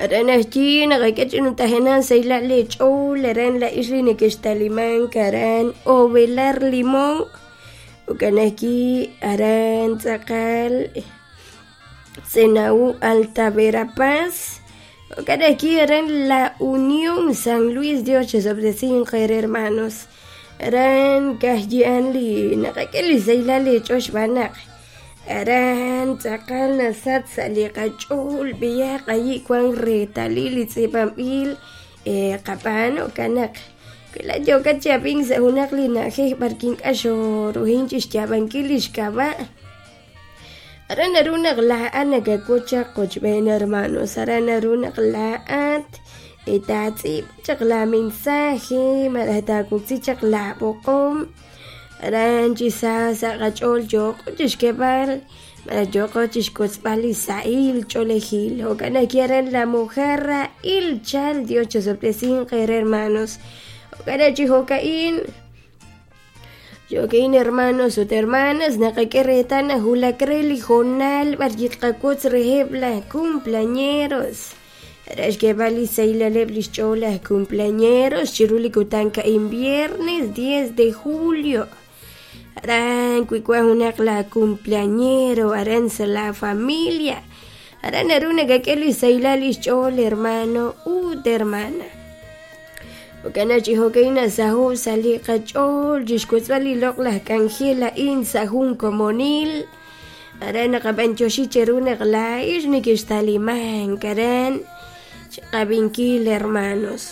Aran ajwi' naqak'e chi numtajenaq sahilal leech'ool aran laa'ex li nekextalimank aran Ovelar Limón jo'kan ajwi' aran tz'aqal Senaú Alta Verapaz jo'kan ajwi' aran La Unión San Luis Dios chisob'tesinq eere hermanos aran ka'ajyi'an li naqak'e li sahilal leech'ool xb'aan naq aran tz'aqal nasach sa' li qach'ool b'eyaq ayi' wan reetalil li tz'iib'anb'il qab'aan jo'kan naq wi laa'at yookat chi ab'ink sa' junaq li na'ajej b'ar ink'a' xooruhin chi xyaab'ankil li xk'ab'a' aran naru naq laa'at nakawotz chaq qochb'een hermanos aran naru naq laa'at taatz'iib'a chaq la mensaje malaj taawoksi chaq laab'oqom aran chi sa sa' qach'ool yooqo chi xk'eeb'al malaj yooqo chi xkotzb'al li sahil ch'oolejil jo'kan ajwi' aran La Mojarra Ilchal Dios chisob'tesinq eere hermanos jo'kan chi jo'ka'in Jo'kin hermanos ut hermanas naqak'e reetal naq wulak re li hoonal b'ar tqawotz reheb' laj cumpleañeros re xk'eeb'al li sahilaleb' li xch'ool laj cumpleañeros chiru li kutan ka'in viernes 10 de julio aran wi wan junaq la cumpleañero aran sa' la familia aran naru nakak'e li sahilal li xch'ool hermano ut hermana Jo'kan naq chi jo'ka'in nasaho' sa' li qach'ool chi xwotzb'al li loq'laj k'anjel a'in sa' jun komonil. Aran naqab'antioxi cheru naq laa'ex nekextalimank aran chiqab'inkil hermanos.